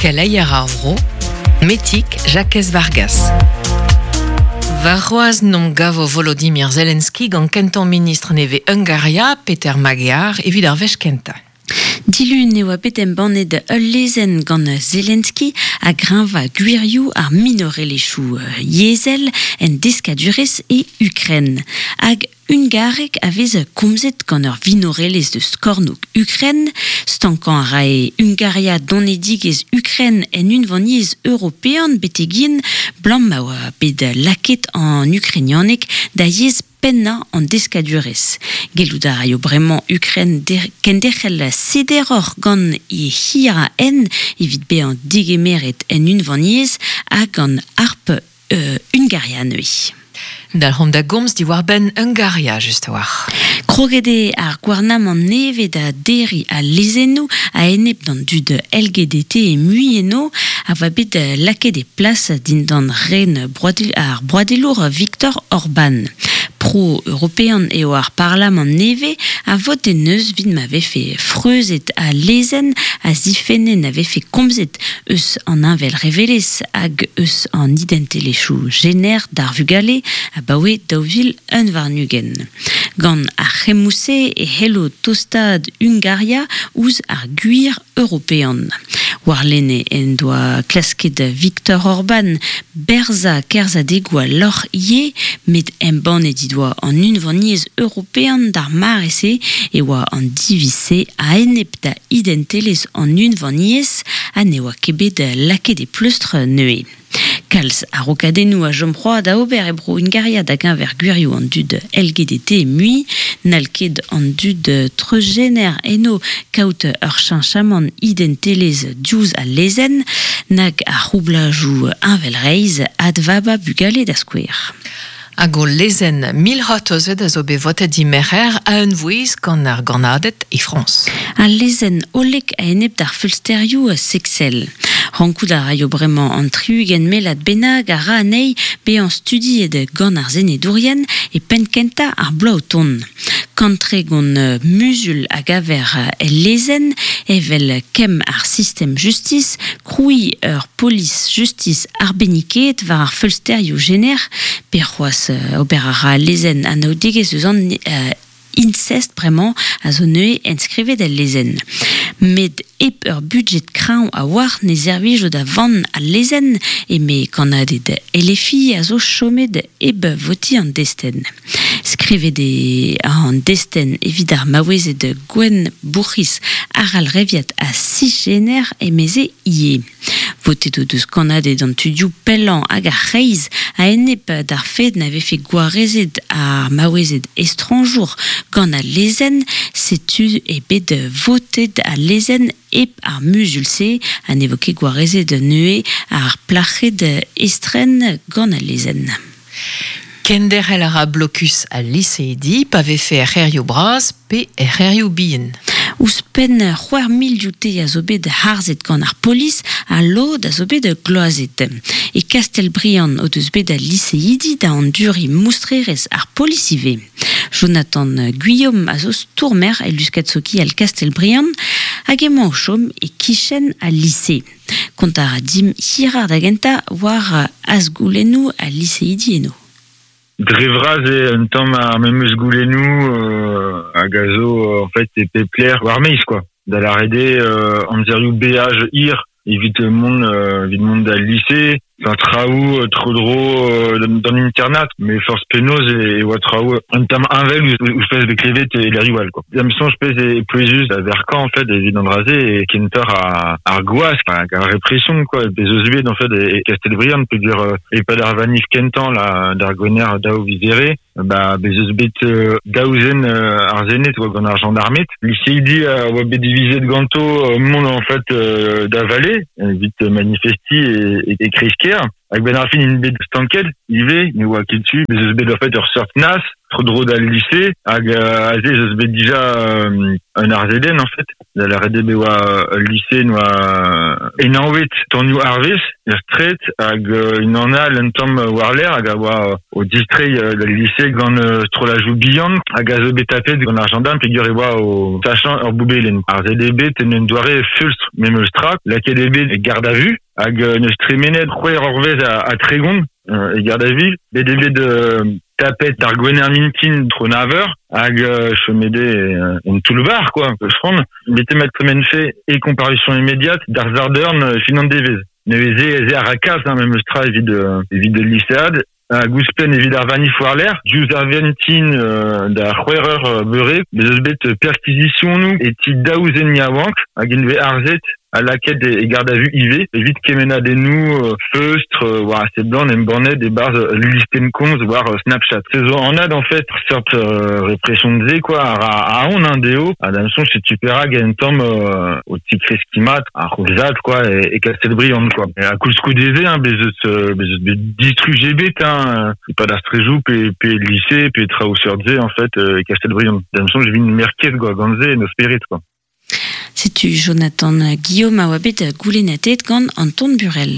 Keleier ar vro, Metig Jakez Vargas. Warc'hoazh 'n gavo Volodymyr Zelensky gant kentañ ministr nevez Hungaria, Peter Magyar, evit ar wech kentañ. Dilun e oa bet embannet ul lezenn gant Zelensky a greñva gwirioù ar minorelezhioù yezhel en deskadurezh e Ukren. Hag hungareg a vez komzet gant ur vinorelezh deus kornôg Ukren. Stankañ a rae Hungaria donedigezh Ukren en Unvaniezh European betek-hen 'blam ma oa bet lakaet an ukrainianeg da yezh pennañ an deskadurezh. Gellout a raio bremañ Ukren kenderc'hel sederoc'h gant he hirañ evit bezañ degemeret en unvaniezh ha gant harp Hungaria neuze. Dalc'homp da gomz diwar-benn Hungaria just a-walc'h. Kroget eo ar gouarnamant nevez da derriñ al lezennoù a-enep d'an dud LGBT mui eno a oa bet lakaet e plas dindan ren ar broadelour Viktor Orban. Pro-european eo ar parlamant nevez a vote neus 'vit ma vefe freuzet al lezenn a zifenne na vefe komzet eus an heñvelrevelezh hag eus an identelezhioù jener d'ar vugale abaoe 2021. Gant ar c'hemmoù-se e c'hello tostaat Hungaria ouzh ar gwir european. Warlene en doa klasket Viktor Orban berzañ kerzhadegoù al lorc'h ivez, met embannet he doa an Unvaniezh European d'ar mare-se e oa an diviz-se a-enep da identelezh an Unvaniezh ha ne oa ket bet lakaet e pleustr neuze. Kalz a-raokadennoù a chom c'hoazh da ober e bro Hungaria da geñver gwirioù an dud LGBT mui. N'hall ket an dud treuzjener eno kaout ur cheñchamant identelezh diouzh al lezenn, nag ar c'houblajoù heñvelreizh advabañ bugale da skouer. Hag o lezenn 1000 a zo bet votet dimerc'her a-unvouezh gant ar gannaded e Frañs. Al lezenn hollek a-enep d'ar feulsterioù seksel. Rankout a raio bremañ an 60 mellad bennak a ra anezhi bezañ studiet gant ar senedourien e penn-kentañ ar bloaz o tont. 130 muzul a gaver el lezenn, evel kemm ar sistem justis, krouiñ ur polis justis arbennikaet war ar feulsterioù jener, pe c'hoazh ober a ra al lezenn anaoudegezh eus an incest bremañ a zo neuze enskrivet el lezenn. Met hep ur budjed kreñv a-walc'h ne servijo da vann al lezenn, eme kannaded LFI a zo chomet hep votiñ an destenn. Skrivet eo an destenn evit ar maouezed gwenn bourc'hiz arallreviat ha cisjener emeze ivez. Votet o deus kannaded an tudioù pellañ hag ar c'hreiz a-enep d'ar fed na vefe gwarezet ar maouezed estrañjour gant al lezenn, setu eo bet votet al lezenn hep ar muzul-se ha ne vo ket gwarezet neuze ar plac'hed estren gant al lezenn. Kenderc'hel a ra blokus al liseidi pa vefe er c'hêrioù bras pe er c'hêrioù bihan. Ouzhpenn 6000 dioute a zo bet harzet gant ar polis ha lod a zo bet gloazet. E Kastell-Briant o deus bet al liseidi da anduriñ moustrerezh ar polis ivez. Jonathan Guillaume a zo stourmer e luskad sokial Kastell-Briant hag emañ o chom e-kichen al lise. Kontañ a ra dimp hiroc'h da gentañ war azgoulennoù al liseidi eno. Dre vras eo un tamm ar memes goulennoù hag a zo en fait e pep lec'h war maez quoi. Da lâret eo amzerioù beaj hir evit mont evit mont d'al lise, enfin traoù tro-dro d'an internat, met forzh penaos e oa traoù un tamm heñvel ouzh pezh bet klevet e lec'hioù all quoi. Da'm soñj pezh eo pouezus da verkañ en fait evit an dra-se eo kentoc'h ar gwask hag ar repression quoi bez eus bet en fait e Kastell-Briant peogwir e-pad ar vanif kentañ la d'ar Gwener daou viz Here ba bez eus bet daou zen arzennet oa gant ar gendarmed liseidi a oa bet divizet ganto mont en fait da vale evit manifestiñ e kreiz-kêr. ker, hag ben ar fin in bet stanket, ive, ne oa ket tu, bez eus bet en fait ur seurt nas, tro dro d'al lycée, hag aze eus bet dija un arzeden en fait, da la rede be oa lycée noa enanvet tonioù arvez, ur stret, hag un an al un tamm war l'air, hag a oa o distrei d'al lycée gant strolajou bihan, hag a zo bet tapet gant ar gendarme, peogwir e oa o sachañ ur boubelen. Ar ZDB ten un doare fulstr memeus tra, laket eo bet e garde à vue, hag neus tremenet c'hwec'h eurvezh a tregont e garde à vue, bet eo bet tapet ar gwener mintin tro nav eur, hag chomede en toull-bar, quoi, peus bete ma tremenfe e comparution immédiate d'ar zardern fin an devezh. Neuze ez eo ar rakaz, hein, memeus tra evit, evit lycéad, hag ouzhpenn evit ar vanif war l'air, diouzh ar vintin da c'hwec'h eur beure, bez eus bet perquisitionoù e ti daou zen yaouank, hag int vez arzet a lakaet e garde à vue ivez, evit kemennadennoù feustr war a seblant embannet e-barzh listenn komz war Snapchat. Se zo anat en fait seurt répression de quoi, a a on hein, dezho, ha d'am soñj setu perak un tamm o tikreskiñ ar c'houlzad quoi, e Castelbriand quoi. E a koulskoude se, hein, bez eus bet distruje bet, hein, e-pad ar strejoù pe lycée, pe traoù seurt se en fait e Castelbriand. D'am soñj vin merket quoi, gant se en o spered quoi. Setu Jonathan Guillaume a oa bet goulennatet gant Anton Burel.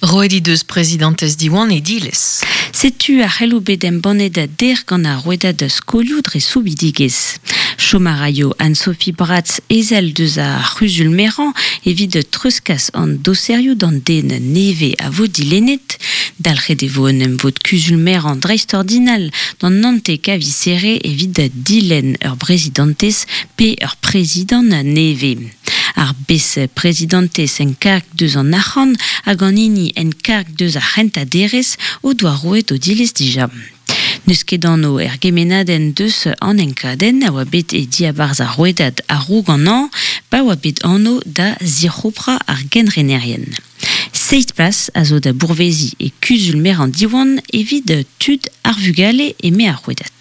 Roet he deus prezidantez Diwan e dilez. Setu ar c'heloù bet embannet der gant ar rouedad skolioù dre soubidigezh. Chom a raio Anne-Sophie Bratz ezel deus ar c'huzul merañ evit treuzkas an doserioù d'an den nevez a vo dilennet. Dalc'het e vo un emvod kuzul merañ dreistordinal d'an naontek a viz Here evit dilenn ur brezidantez pe ur prezidant nevez. Ar bez-prezidantez en karg deus an arc'hant hag an hini en karg deus ar c'hentañ derez o doa roet o dilez dija. N'eus ket anv er gemennadenn deus an enkadenn a oa bet e diabarzh ar rouedad a-raok an hañv pa oa bet anv da zic'hoprañ ar genrenerien. Seizh plas a zo da bourveziñ e kuzul-merañ Diwan evit tud ar vugale eme ar rouedad.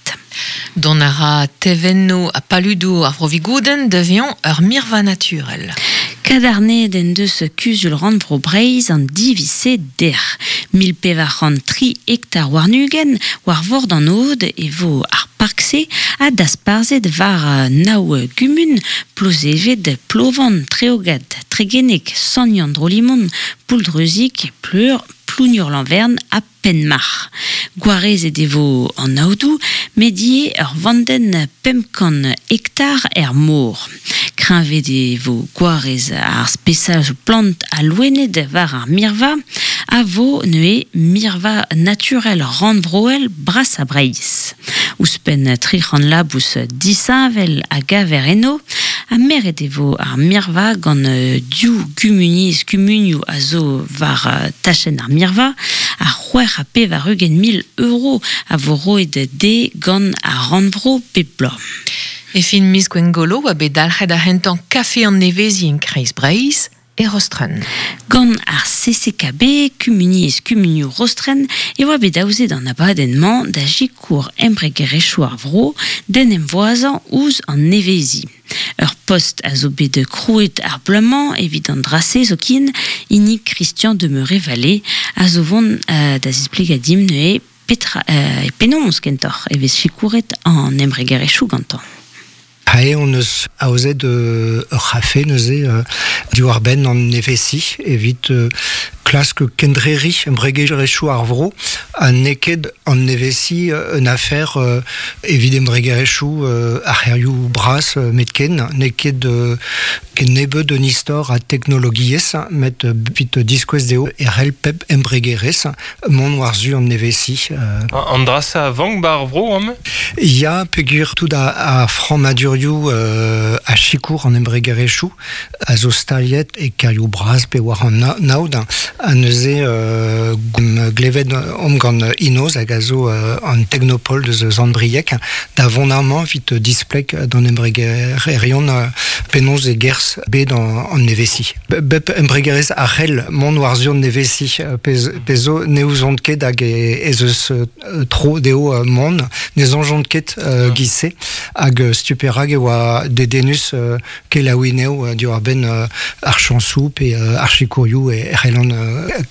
Dont a ra tevennoù ha paludoù ar Vro-Vigoudenn da vezañ ur mirva naturel. Kadarnaet en deus Kuzul Rannvro Breizh an diviz-se dec'h. 1403 hektar warn-ugent war vord an Aod e vo ar park-se ha dasparzhet war nav gumun, Plozeved, Plovan, Treogad, Tregeneg, Sant-Yann-Drolimon, Pouldreuzig, Pleur, Plougnour-Lanvern ha Penmarc'h. Gwarezet e vo an aodoù, met ivez ur vandenn 500 hektar er mor. Kreñvet e vo gwarez ar spesajoù plant ha loened war ar mirva, a vo neuze mirva naturel rannvroel brasañ Breizh. Ouzhpenn 300 labous disheñvel a gaver eno, ha meret e vo ar mirva gant div gumuniezh kumunioù a zo war tachenn ar mirva, ha 86 mil euro a vo roet dezhe gant ar rannvro bep bloaz. E fin miz Gwengolo oa bet dalc'het ar c'hentañ kafe an neveziñ en Kreiz Breizh e Rostren. Gant ar CCKB, Kumuniezh Kumunioù Rostren, e oa bet aozet an abadenn-mañ da sikour embregerezhioù ar vro d'en em voazañ ouzh an neveziñ. Ur post a zo bet krouet ar bloaz-mañ evit an dra-se zoken, hini Christian Demeuré-Vallée, a zo vont da zisplegañ dimp neuze petra e penaos kentoc'h e vez sikouret an embregerezhioù gantañ. Ae hon eus aozet ur c'hafe neuze diwar-benn an nevezi evit klask kendreriñ embregerezhioù ar vro ha n'eo ket an nevezi un afer evit embregerezhioù ar c'hêrioù bras metken. N'eo ket ken nebeut un istor a teknologiezh met evit diskouez dezho e c'hell pep embregerezh mont war-zu an nevezi. An dra-se a vank 'ba ar vro amañ? Ya, peogwir tout ar frammadurioù a sikour an embregerezhioù a zo staliet e kêrioù bras pe war an aod. Ha neuze glevet omp gant Inoz hag a zo an teknopol deus Sant-Brieg da vont amañ evit displeg d'an embregererion penaos e gerzh bet an nevezi. Bep embregerezh a c'hell mont war-zu an nevezi pezh zo ne ouzont ket hag ez eus tro dezho mont, ne soñjont ket giz-se hag setu perak e oa dedennus kelaouiñ anezho diwar-benn ar chañsoù pe ar sikourioù e c'hellont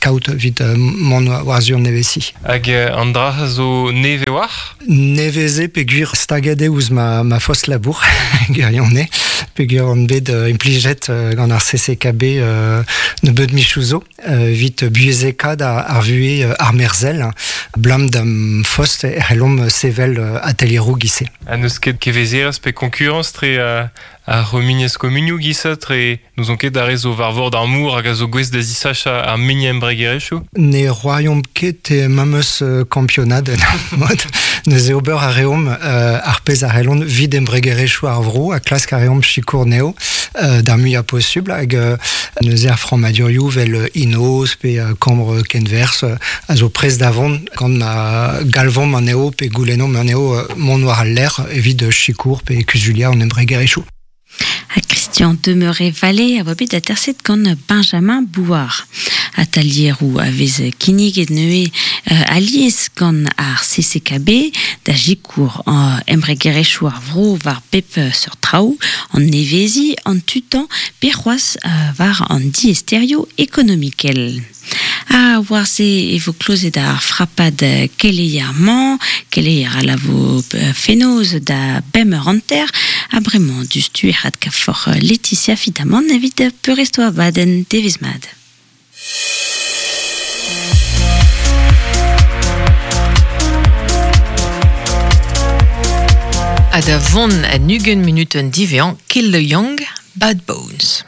kaout evit mont war-zu an nevezi. Hag an dra zo neve war? Neveze peogwir staget eo ouzh ma fost labour, gwirionez, peogwir on bet implijet gant ar CCKB nebeut michoù zo evit buhezekaat ar vuhez armerzhel, ablam d'am fost e c'hellomp sevel atelieroù giz-se. Ha n'eus ket kevezerezh pe konkurañs tre ar c'humuniezh komunioù giz-se tre n'ouzon ket ar re zo war vord ar mor hag a zo gouest da zisachañ ar muiañ embregerezhioù? Ne c'hoariomp ket e memes kampionad en ur mod. Neuze ober a reomp ar pezh a c'hellont evit embregerezhioù ar vro ha klask a reomp sikour anezho d'ar muiañ posubl hag neuze ar frammadurioù vel Inoz pe Kambr Kenwerzh a zo prest da vont gant ma galvomp anezho pe goulennomp anezho mont war al lec'h evit sikour pe kuzuliañ an embregerezhioù. Ha Christian Demeuré-Vallée a oa bet aterset gant Benjamin Bouard. Atalieroù a vez kinniget neuze alies gant ar CCKB da sikour embregerezhioù ar vro war bep seurt traoù, an neveziñ, an tutañ pe c'hoazh war an diaesterioù ekonomikel. Ha war-se e vo klozet ar frapad keleier-mañ, keleier a lavo fenoz da bemp eur hanter, ha bremañ diouzhtu e adkavfoc'h Laetitia Fitamant evit peurrest o abadenn devezh mat. Ha da vont en 20 munutenn diwezhañ, Kill the Young, Bad Bones.